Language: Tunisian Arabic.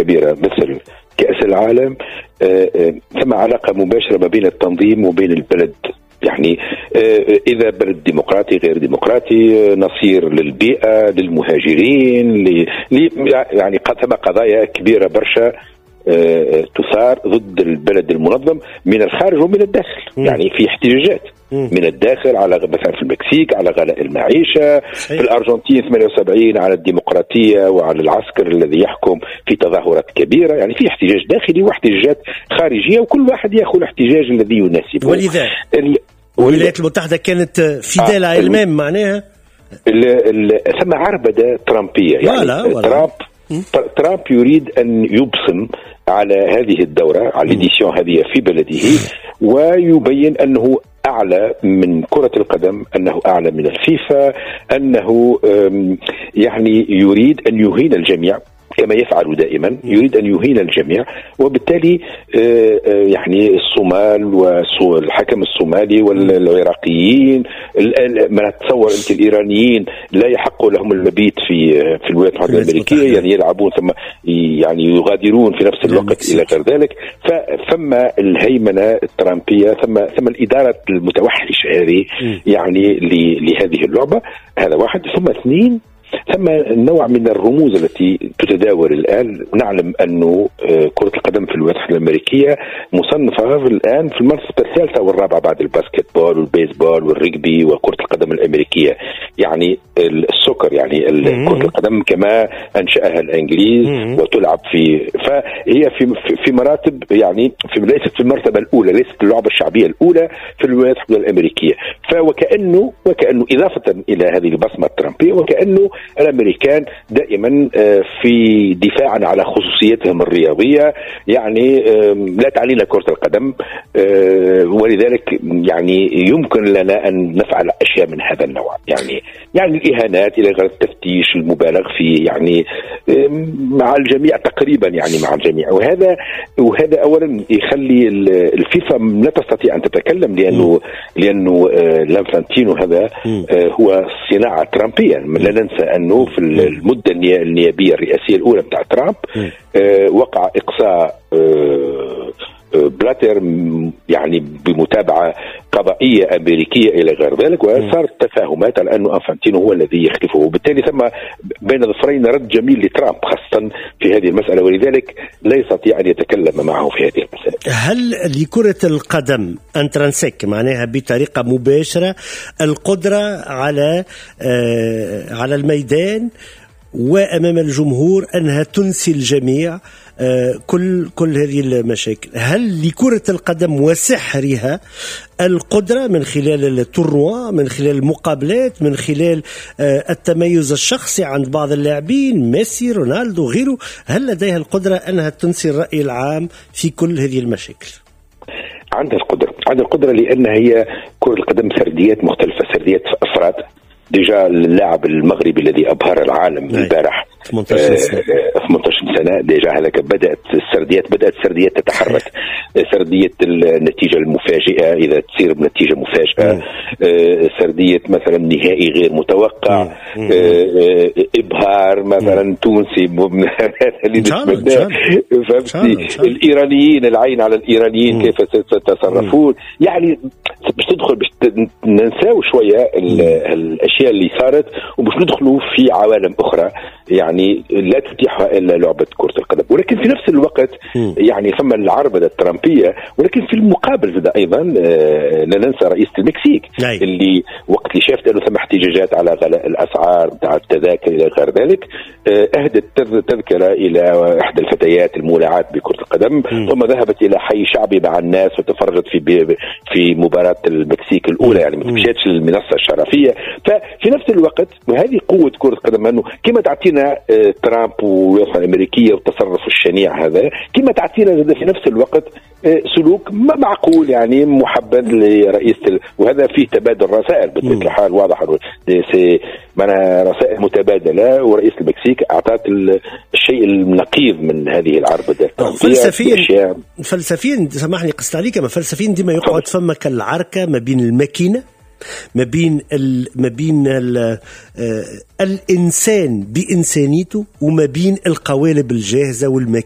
الكبيرة مثل كأس العالم ثم علاقة مباشرة ما بين التنظيم وبين البلد. يعني إذا بلد ديمقراطي غير ديمقراطي، نصير للبيئة، للمهاجرين، يعني ثم قضايا كبيرة برشا تثار ضد البلد المنظم من الخارج ومن الداخل. يعني في احتجاجات من الداخل على مثلا في المكسيك على غلاء المعيشة، في الأرجنتين 78 على الديمقراطية وعلى العسكر الذي يحكم في تظاهرات كبيرة. يعني في احتجاج داخلي واحتجاجات خارجية، وكل واحد يأخذ الاحتجاج الذي يناسبه. ولذا الولايات المتحدة كانت fidèle à elle-même معناها ثم عربدة ترامبية. يعني ولا. ترامب يريد أن يبصم على هذه الدورة، على l'édition هذه في بلده، ويبين أنه أعلى من كرة القدم، أنه أعلى من الفيفا، أنه يعني يريد أن يهين الجميع كما يفعل دائما، يريد أن يهين الجميع. وبالتالي يعني الصومال والحكم الصومالي والعراقيين، ما تصور أنت الإيرانيين لا يحق لهم المبيت في الولايات المتحدة الأمريكية، يعني يلعبون ثم يعني يغادرون في نفس الوقت إلى غير ذلك. فثم الهيمنة الترامبية، ثم الإدارة المتوحشة هذه يعني لهذه اللعبة. هذا واحد. ثم اثنين، ثم نوع من الرموز التي تتداول الآن. نعلم أنه كرة القدم في الولايات المتحدة الأمريكية مصنفة الآن في المرتبة الثالثة والرابعة بعد ال basketball والبيسبول والرجبي وكرة القدم الأمريكية، يعني ال soccer، يعني كرة القدم كما أنشأها الإنجليز وتلعب في، فهي في مراتب، يعني في ليست في المرتبة الأولى، ليست اللعبة الشعبية الأولى في الولايات المتحدة الأمريكية. فوكأنه إضافة إلى هذه البصمة الترامبية، وكأنه الأمريكان دائما في دفاعا على خصوصيتهم الرياضية، يعني لا تعنينا كرة القدم، ولذلك يعني يمكن لنا أن نفعل أشياء من هذا النوع، يعني الإهانات إلى غير التفتيش المبالغ فيه، يعني مع الجميع تقريبا، يعني مع الجميع. وهذا أولا يخلي الفيفا لا تستطيع أن تتكلم، لأنه لانفانتينو هذا هو صناعة ترامبية. لا ننسى أنه في المدة النيابية الرئاسية الأولى بتاع ترامب وقع إقصاء بلاتر يعني بمتابعة قضائية أمريكية إلى غير ذلك، وصارت تفاهمات على أنه أنفانتينو هو الذي يخلفه، وبالتالي ثم بين ظفرين رد جميل لترامب خاصة في هذه المسألة، ولذلك لا يستطيع أن يتكلم معه في هذه المسألة. هل لكرة القدم intrinsèque معناها بطريقة مباشرة القدرة على الميدان وأمام الجمهور أنها تنسي الجميع كل هذه المشاكل؟ هل لكرة القدم وسحرها القدرة من خلال ال tournoi، من خلال المقابلات، من خلال التميز الشخصي عند بعض اللاعبين، ميسي، رونالدو، غيره، هل لديها القدرة أنها تنسي الرأي العام في كل هذه المشاكل؟ عندها القدرة، عندها القدرة، لأن هي كرة القدم سرديات مختلفة، سرديات أفراد. déjà اللاعب المغربي الذي أبهر العالم البارح 18 سنة، 18 سنة déjà هذاك بدأت السرديات تتحرك، سردية النتيجة المفاجئة إذا تصير بنتيجة مفاجئة، سردية مثلا نهائي غير متوقع، إبهار مثلا تونسي اللي نتمناه، فهمتي؟ الإيرانيين، العين على الإيرانيين كيف سيتصرفون، يعني باش تدخل باش ننساو شوية الأشياء اللي صارت وباش ندخلوا في عوالم أخرى يعني لا تتيحها إلا لعبة كرة القدم. ولكن في نفس الوقت يعني ثم العربدة الترامبية، ولكن في المقابل زاد أيضا لا ننسى رئيسة المكسيك اللي وقت اللي شافت أنه ثم احتجاجات على غلاء الأسعار بتاع التذاكر إلى غير ذلك، أهدت تذكرة إلى إحدى الفتيات المولعات بكرة القدم، ثم ذهبت إلى حي شعبي مع الناس وتفرجت في مباراة المكسيك الأولى، يعني ما مشاتش للمنصة الشرفية. ففي نفس الوقت وهذه قوة كرة القدم، أنه كما تعطينا ترامب والولايات الأمريكية والتصرف الشنيع هذا، كما تعطينا في نفس الوقت سلوك معقول يعني محبذ لرئيس وهذا فيه تبادل رسائل بطبيعة الحال، واضح معناها رسائل متبادلة، ورئيس المكسيك أعطت الشيء النقيض من هذه العربدة. فلسفيا سامحني قصت عليك، ما فلسفيا ديما يقعد فما كالعركة ما بين الماكينة ما بين الانسان بانسانيته وما بين القوالب الجاهزة والماكينه.